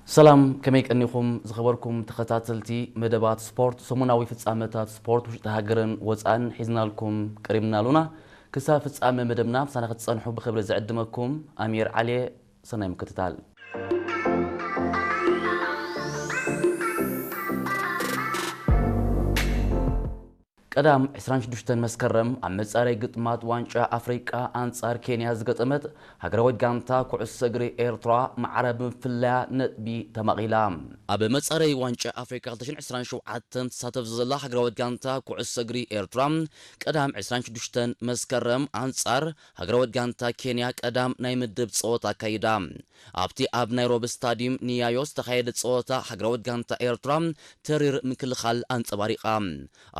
ሰላም፣ ከመይ ቀኒኹም ዝኸበርኩም ተኸታተልቲ መደባት ስፖርት? ሰሙናዊ ፍጻመታት ስፖርት ውሽጢ ሃገርን ወጻእን ሒዝናልኩም ቀሪብና ኣሉና። ክሳብ ፍጻመ መደብና ምሳና ክትጸንሑ ብኽብሪ ዝዕድመኩም ኣሚር ዓሊ። ሰናይ ምክትታል። ቀዳም ዕስራን ሽዱሽተን መስከረም ኣብ መጻረይ ግጥማት ዋንጫ ኣፍሪቃ ኣንጻር ኬንያ ዝገጠመት ሃገራዊት ጋንታ ኩዕሶ እግሪ ኤርትራ ማዕረ ብምፍላያ ነጥቢ ተማቒላ። ኣብ መጻረይ ዋንጫ ኣፍሪቃ ክልተ ሽሕን ዕስራን ሸውዓተን ትሳተፍ ዘላ ሃገራዊት ጋንታ ኩዕሶ እግሪ ኤርትራ ቀዳም ዕስራን ሽዱሽተን መስከረም ኣንጻር ሃገራዊት ጋንታ ኬንያ ቀዳም ናይ ምድብ ጸወታ ኣካይዳ። ኣብቲ ኣብ ናይሮቢ ስታዲየም ንያዮ ዝተኻየደ ጸወታ ሃገራዊት ጋንታ ኤርትራ ተሪር ምክልኻል ኣንጸባሪቓ።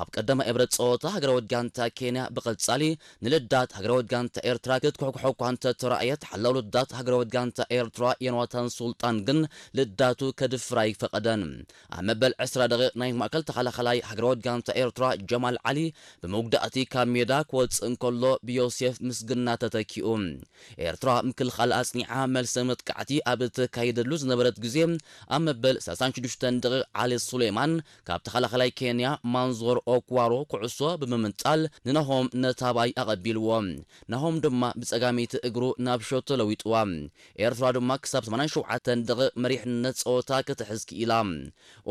ኣብ ቀዳማይ እብረት ጸወታ ሃገራዊት ጋንታ ኬንያ ብቐጻሊ ንልዳት ሃገራዊት ጋንታ ኤርትራ ክትኩሕኩሖ እኳ እንተተራእየት፣ ሓላው ልዳት ሃገራዊት ጋንታ ኤርትራ ዮናታን ሱልጣን ግን ልዳቱ ከድፍር ኣይፈቐደን። ኣብ መበል ዕስራ ደቂቕ ናይ ማእከል ተኸላኸላይ ሃገራዊት ጋንታ ኤርትራ ጀማል ዓሊ ብመጉዳእቲ ካብ ሜዳ ክወጽእ እንከሎ ብዮሴፍ ምስግና ተተኪኡ። ኤርትራ ምክልኻል ኣጽኒዓ መልሰ መጥቃዕቲ ኣብ እተካይደሉ ዝነበረት ግዜ ኣብ መበል ሰላሳን ሽዱሽተን ደቂቕ ዓሊ ሱሌማን ካብ ተኸላኸላይ ኬንያ ማንዞር ኦክዋሮ ኩዕሶ ብምምንጣል ንናሆም ነታባይ ኣቐቢልዎ። ናሆም ድማ ብጸጋመይቲ እግሩ ናብ ሸቶ ለዊጥዋ። ኤርትራ ድማ ክሳብ ሰማንያን ሸውዓተን ደቂቕ መሪሕነት ጸወታ ክትሕዝ ክኢላ።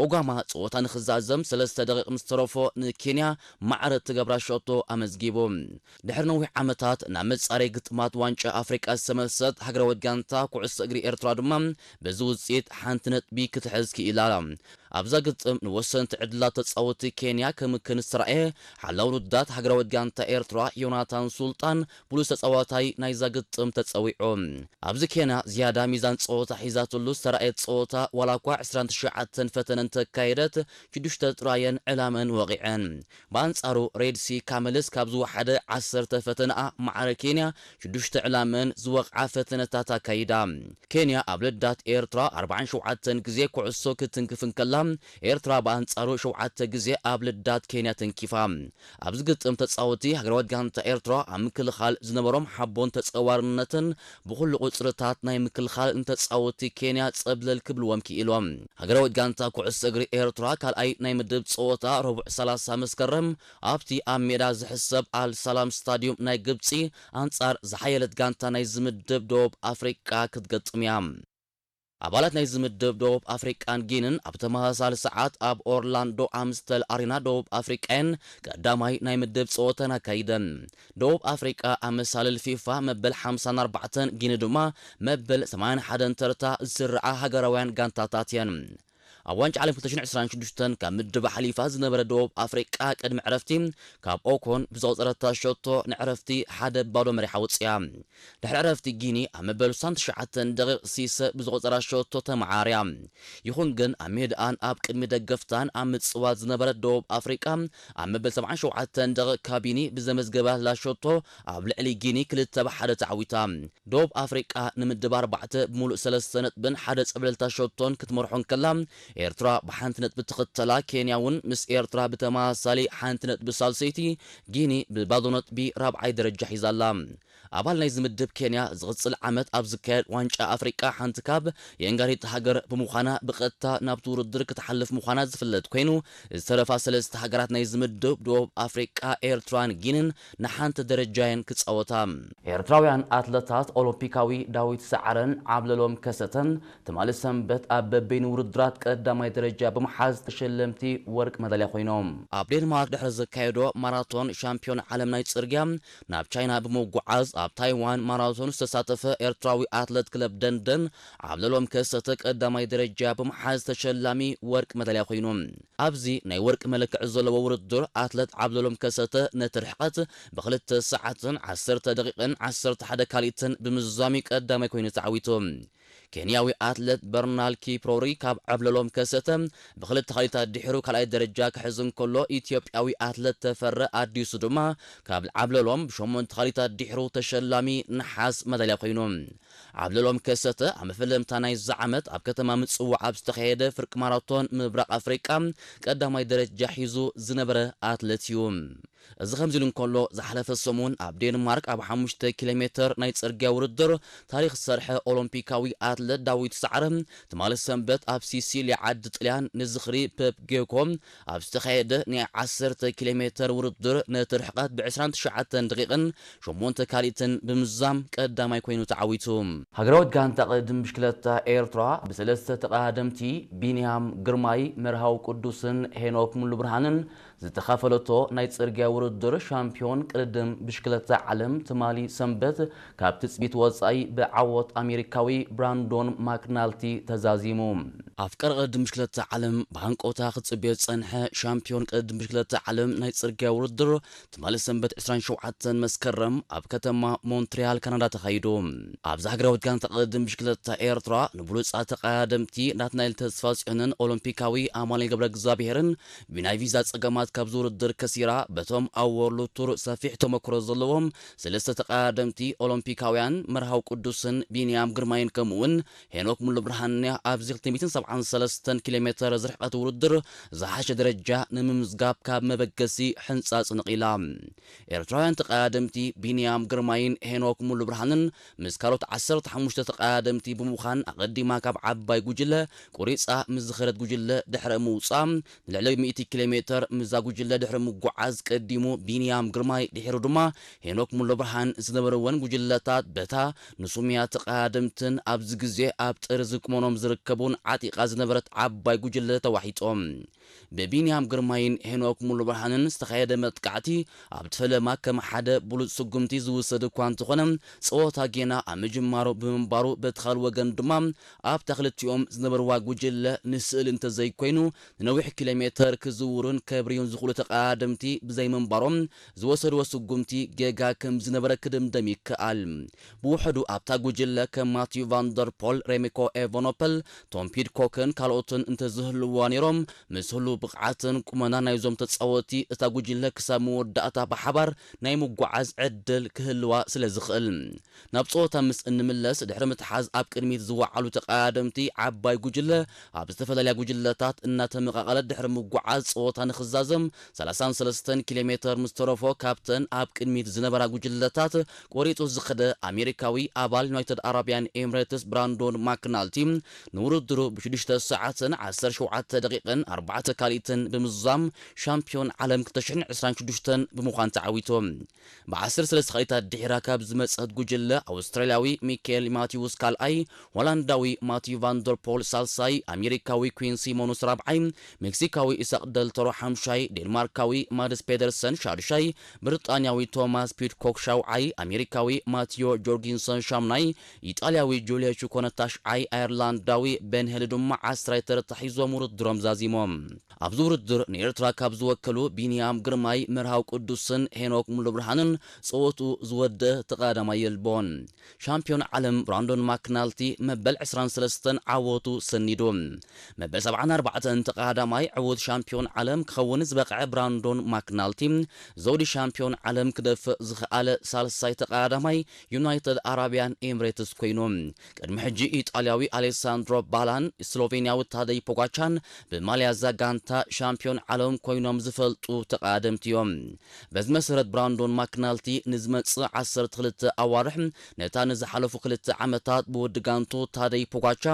ኦጋማ ጸወታ ንኽዛዘም ሰለስተ ደቂቕ ምስ ተረፎ ንኬንያ ማዕረ እትገብራ ሸቶ ኣመዝጊቡ። ድሕሪ ነዊሕ ዓመታት ናብ መጻረይ ግጥማት ዋንጫ ኣፍሪቃ ዝተመልሰት ሃገራዊት ጋንታ ኩዕሶ እግሪ ኤርትራ ድማ በዚ ውጽኢት ሓንቲ ነጥቢ ክትሕዝ ክኢላ። ኣብዛ ግጥም ንወሰንቲ ዕድላት ተጻወቲ ኬንያ ከምክን ዝተራእየ ሓላው ውድዳት ሃገራዊት ጋንታ ኤርትራ ዮናታን ሱልጣን ብሉጽ ተጻዋታይ ናይዛ ግጥም ተጸዊዑ። ኣብዚ ኬንያ ዝያዳ ሚዛን ጸወታ ሒዛትሉ ዝተራእየት ጸወታ ዋላ እኳ ዕስራን ትሽዓተን ፈተነ እንተካየደት ሽዱሽተ ጥራየን ዕላመን ወቒዐን። ብኣንጻሩ ሬድሲ ካመልስ ካብ ዝወሓደ ዓሰርተ ፈተነኣ ማዕረ ኬንያ ሽዱሽተ ዕላመን ዝወቕዓ ፈተነታት ኣካይዳ። ኬንያ ኣብ ልዳት ኤርትራ ኣርባዓን ሸውዓተን ግዜ ኩዕሶ ክትንክፍ እንከላ፣ ኤርትራ ብኣንጻሩ ሸውዓተ ግዜ ኣብ ልዳት ኬንያ ተንኪፋ። ኣብዚ ግጥም ተጻወቲ ሃገራዊት ጋንታ ኤርትራ ኣብ ምክልኻል ዝነበሮም ሓቦን ተጸዋርነትን ብኹሉ ቁጽርታት ናይ ምክልኻል ንተጻወቲ ኬንያ ጸብለል ክብልዎም ክኢሎም። ሃገራዊት ጋንታ ኩዕሶ እግሪ ኤርትራ ካልኣይ ናይ ምድብ ጸወታ ረቡዕ ሰላሳ መስከረም ኣብቲ ኣብ ሜዳ ዝሕሰብ ኣል ሰላም ስታዲዩም ናይ ግብጺ ኣንጻር ዝሓየለት ጋንታ ናይ ዝምድብ ደቡብ ኣፍሪቃ ክትገጥም እያ። ኣባላት ናይ ዝምድብ ደቡብ ኣፍሪቃን ጊንን ኣብ ተመሳሳሊ ሰዓት ኣብ ኦርላንዶ ኣምስተል ኣሬና ደቡብ ኣፍሪቃየን ቀዳማይ ናይ ምድብ ጸወተን ኣካይደን። ደቡብ ኣፍሪቃ ኣብ መሳልል ፊፋ መበል ሓምሳን ኣርባዕተን፣ ጊኒ ድማ መበል ሰማንያን ሓደን ተርታ ዝስርዓ ሃገራውያን ጋንታታት እየን። ኣብ ዋንጫ ዓለም ክልተ ሽሕን ዕስራን ሽዱሽተን ካብ ምድባ ሓሊፋ ዝነበረ ደቡብ ኣፍሪቃ ቅድሚ ዕረፍቲ ካብ ኦኮን ብዘቑጸረታ ሸቶ ንዕረፍቲ ሓደ ባዶ መሪሓ ወጽያ። ድሕሪ ዕረፍቲ ጊኒ ኣብ መበል ስሳን ትሽዓተን ደቂቕ ሲሰ ብዘቑጸራ ሸቶ ተመዓርያ። ይኹን ግን ኣብ ሜድኣን ኣብ ቅድሚ ደገፍታን ኣብ ምጽዋት ዝነበረት ደቡብ ኣፍሪቃ ኣብ መበል ሰብዓን ሸውዓተን ደቂቕ ካቢኒ ብዘመዝገባትላ ሸቶ ኣብ ልዕሊ ጊኒ ክልተ ብ ሓደ ተዓዊታ። ደቡብ ኣፍሪቃ ንምድብ ኣርባዕተ ብምሉእ ሰለስተ ነጥብን ሓደ ጸብለልታ ሸቶን ክትመርሖ እንከላ፣ ኤርትራ ብሓንቲ ነጥቢ ትኽተላ። ኬንያ እውን ምስ ኤርትራ ብተመሳሳሊ ሓንቲ ነጥቢ ሳልሰይቲ፣ ጊኒ ብባዶ ነጥቢ ራብዓይ ደረጃ ሒዛ ኣላ። ኣባል ናይዚ ምድብ ኬንያ ዝቕጽል ዓመት ኣብ ዝካየድ ዋንጫ ኣፍሪቃ ሓንቲ ካብ የንጋሪት ሃገር ብምዃና ብቐጥታ ናብቲ ውድድር ክትሓልፍ ምዃና ዝፍለጥ ኮይኑ፣ ዝተረፋ ሰለስተ ሃገራት ናይዚ ምድብ ደቡብ ኣፍሪቃ፣ ኤርትራን ጊንን ንሓንቲ ደረጃ እየን ክጻወታ። ኤርትራውያን ኣትለታት ኦሎምፒካዊ ዳዊት ሰዓረን ዓብለሎም ከሰተን ትማሊ ሰንበት ኣብ በበይኑ ውድድራት ቀዳማይ ደረጃ ብምሓዝ ተሸለምቲ ወርቂ መዳልያ ኮይኖም። ኣብ ዴንማርክ ድሕሪ ዘካየዶ ማራቶን ሻምፒዮን ዓለም ናይ ጽርግያ ናብ ቻይና ብምጉዓዝ ኣብ ታይዋን ማራቶን ዝተሳተፈ ኤርትራዊ ኣትለት ክለብ ደንደን ዓብለሎም ከሰተ ቀዳማይ ደረጃ ብምሓዝ ተሸላሚ ወርቂ መዳልያ ኮይኑ። ኣብዚ ናይ ወርቂ መለክዒ ዘለዎ ውድድር ኣትለት ዓብለሎም ከሰተ ነቲ ርሕቀት ብክልተ ሰዓትን ዓሰርተ ደቂቕን ዓሰርተ ሓደ ካልኢትን ብምዝዛሙ ቀዳማይ ኮይኑ ተዓዊቱ። ኬንያዊ ኣትለት በርናል ኪፕሮሪ ካብ ዓብለሎም ከሰተ ብክልተ ካልኢታት ድሕሩ ካልኣይ ደረጃ ክሕዝ እንከሎ፣ ኢትዮጵያዊ ኣትለት ተፈረ ኣዲሱ ድማ ካብ ዓብለሎም ብሸሞንተ ካልኢታት ድሕሩ ተሸላሚ ነሓስ መዳልያ ኮይኑ። ዓብለሎም ከሰተ ኣብ መፈለምታ ናይዚ ዓመት ኣብ ከተማ ምጽዋዕ ኣብ ዝተኻየደ ፍርቂ ማራቶን ምብራቕ ኣፍሪቃ ቀዳማይ ደረጃ ሒዙ ዝነበረ ኣትለት እዩ። እዚ ከምዚ ኢሉ እንከሎ፣ ዝሓለፈ ሰሙን ኣብ ዴንማርክ ኣብ ሓሙሽተ ኪሎ ሜተር ናይ ጽርግያ ውድድር ታሪኽ ዝሰርሐ ኦሎምፒካዊ ኣትለት ዳዊት ሰዓረ፣ ትማሊ ሰንበት ኣብ ሲሲሊ ዓዲ ጥልያን ንዝኽሪ ፔፕ ጌኮ ኣብ ዝተኻየደ ናይ ዓሰርተ ኪሎ ሜተር ውድድር ነቲ ርሕቀት ብ ዕስራን ትሽዓተን ደቂቕን ሸሞንተ ካሊትን ብምዝዛም ቀዳማይ ኮይኑ ተዓዊቱ። ሃገራዊት ጋንታ ቅድድም ብሽክለታ ኤርትራ ብሰለስተ ተቐዳደምቲ ቢንያም ግርማይ፣ መርሃዊ ቅዱስን ሄኖክ ሙሉብርሃንን ዝተኻፈለቶ ናይ ጽርግያ ውድድር ሻምፒዮን ቅድድም ብሽክለታ ዓለም ትማሊ ሰንበት ካብ ትጽቢት ወጻኢ ብዓወት ኣሜሪካዊ ብራንዶን ማክናልቲ ተዛዚሙ። ኣፍቃሪ ቅድድም ብሽክለታ ዓለም ብሃንቀውታ ክጽበዮ ዝጸንሐ ሻምፒዮን ቅድድም ብሽክለታ ዓለም ናይ ጽርግያ ውድድር ትማሊ ሰንበት ዕስራን ሸውዓተን መስከረም ኣብ ከተማ ሞንትሪያል ካናዳ ተኻይዱ። ኣብዚ ሃገራዊት ጋንታ ቅድድም ብሽክለታ ኤርትራ ንብሉጻት ተቐዳደምቲ ናትናኤል ተስፋጽዮንን ኦሎምፒካዊ ኣማኑኤል ገብረ እግዚኣብሄርን ብናይ ቪዛ ጸገማት ካብዚ ውድድር ከሲራ፣ በቶም ኣብ ወርልድ ቱር ሰፊሕ ተመክሮ ዘለዎም ሰለስተ ተቐዳደምቲ ኦሎምፒካውያን መርሃዊ ቅዱስን ቢንያም ግርማይን ከምኡውን ሄኖክ ሙሉብርሃን ኣብዚ ክልተ ሚእትን ሰብዓን ሰለስተን ኪሎ ሜተር ዝርሕቀት ውድድር ዝሓሸ ደረጃ ንምምዝጋብ ካብ መበገሲ ሕንጻጽ ነቒላ። ኤርትራውያን ተቐዳደምቲ ቢንያም ግርማይን ሄኖክ ሙሉብርሃንን ምስ ካልኦት ዓሰርተ ሓሙሽተ ተቐዳደምቲ ብምዃን ኣቐዲማ ካብ ዓባይ ጉጅለ ቁሪጻ ምስ ዝኸደት ጉጅለ ድሕረ ምውጻ፣ ንልዕሊ ሚእቲ ኪሎ ሜተር ምስዛ ጉጅለ ድሕሪ ምጉዓዝ ቀዲሙ ቢንያም ግርማይ ድሒሩ ድማ ሄኖክ ሙሉብርሃን ዝነበርወን ጉጅለታት በታ ንሱምያ ተቐዳደምትን ኣብዚ ግዜ ኣብ ጥርዚ ቁመኖም ዝርከቡን ዓጢቓ ዝነበረት ዓባይ ጉጅለ ተዋሒጦም። ብቢንያም ግርማይን ሄኖክ ሙሉብርሃንን ዝተኻየደ መጥቃዕቲ ኣብቲ ፈለማ ከም ሓደ ብሉጽ ስጉምቲ ዝውሰድ እኳ እንተኾነ፣ ጸወታ ጌና ኣብ ምጅማሩ ብምንባሩ፣ በቲ ካልእ ወገን ድማ ኣብታ ክልቲኦም ዝነበርዋ ጉጅለ ንስእሊ እንተዘይኮይኑ ንነዊሕ ኪሎ ሜተር ክዝውሩን ከብርዩን ዝኽእሉ ተቐዳደምቲ ብዘይምንባሮም ዝወሰድዎ ስጉምቲ ጌጋ ከም ዝነበረ ክድምደም ይከኣል። ብውሕዱ ኣብታ ጉጅለ ከም ማቲዩ ቫንደርፖል፣ ሬሚኮ ኤቨኖፐል፣ ቶም ፒድኮክን ካልኦትን እንተዝህልዋ ነይሮም፣ ምስ ህሉው ብቕዓትን ቁመና ናይዞም ተጻወቲ እታ ጉጅለ ክሳብ መወዳእታ ብሓባር ናይ ምጓዓዝ ዕድል ክህልዋ ስለ ዝኽእል። ናብ ጸወታ ምስ እንምለስ፣ ድሕሪ ምትሓዝ ኣብ ቅድሚት ዝወዓሉ ተቐዳደምቲ ዓባይ ጉጅለ ኣብ ዝተፈላለያ ጉጅለታት እናተመቓቐለት ድሕሪ ምጓዓዝ ጸወታ ንኽዛዘም ሰላሳን ሰለስተን ኪሎ ሜተር ምስ ተረፎ ካብተን ኣብ ቅድሚት ዝነበራ ጉጅለታት ቆሪጹ ዝኸደ ኣሜሪካዊ ኣባል ዩናይትድ ኣረብያን ኤምሬትስ ብራንዶን ማክናልቲ ንውድድሩ ብሽዱሽተ ሰዓትን ዓሰርተ ሸውዓተ ደቂቕን ኣርባዕተ ካልኢትን ብምዝዛም ሻምፒዮን ዓለም ክልተ ሽሕን ዕስራን ሽዱሽተን ብምዃን ተዓዊቱ። ብዓሰርተ ሰለስተ ካልኢታት ድሒራ ካብ ዝመጸት ጉጅለ ኣውስትራልያዊ ሚካኤል ማቲውስ ካልኣይ፣ ሆላንዳዊ ማቲዩ ቫንደርፖል ሳልሳይ፣ ኣሜሪካዊ ኩዊን ሲሞንስ ራብዓይ፣ ሜክሲካዊ ኢሳቅ ደልተሮ ሓምሻይ፣ ዴንማርካዊ ማድስ ፔደርሰን ሻዱሻይ፣ ብሪጣንያዊ ቶማስ ፒድኮክ ሻውዓይ፣ ኣሜሪካዊ ማቲዮ ጆርጊንሰን ሻምናይ፣ ኢጣልያዊ ጁልዮ ቹኮነ ታሽዓይ፣ ኣየርላንዳዊ ቤን ሄል ድማ ዓስራይ ተረታ ሒዞም ውድድሮም ዛዚሞም። ኣብዚ ውድድር ንኤርትራ ካብ ዝወከሉ ቢንያም ግርማይ፣ መርሃዊ ቅዱስን ሄኖክ ሙሉብርሃንን ጸወትኡ ዝወደአ ተቐዳዳማይ የልቦን። ሻምፒዮን ዓለም ብራንዶን ማክናልቲ መበል ዕስራን ሰለስተን ዓወቱ ሰኒዱ። መበል ሰብዓን ኣርባዕተን ተቐዳዳማይ ዕዉት ሻምፒዮን ዓለም ክኸውን ዝበቕዐ ብራንዶን ማክናልቲ፣ ዘውዲ ሻምፒዮን ዓለም ክደፍእ ዝኸኣለ ሳልሳይ ተቐዳዳማይ ዩናይትድ ኣረብያን ኤምሬትስ ኮይኑ። ቅድሚ ሕጂ ኢጣልያዊ ኣሌሳንድሮ ባላን ስሎቬንያዊ ታደይ ፖጋቻን ብማልያ እዛ ጋንታ ሻምፒዮን ዓለም ኮይኖም ዝፈልጡ ተቐዳደምቲ እዮም። በዚ መሰረት ብራንዶን ማክናልቲ ንዝመጽእ ዓሰርተ ክልተ ኣዋርሕ ነታ ንዝሓለፉ ክልተ ዓመታት ብወዲ ጋንቱ ታደይ ፖጋቻ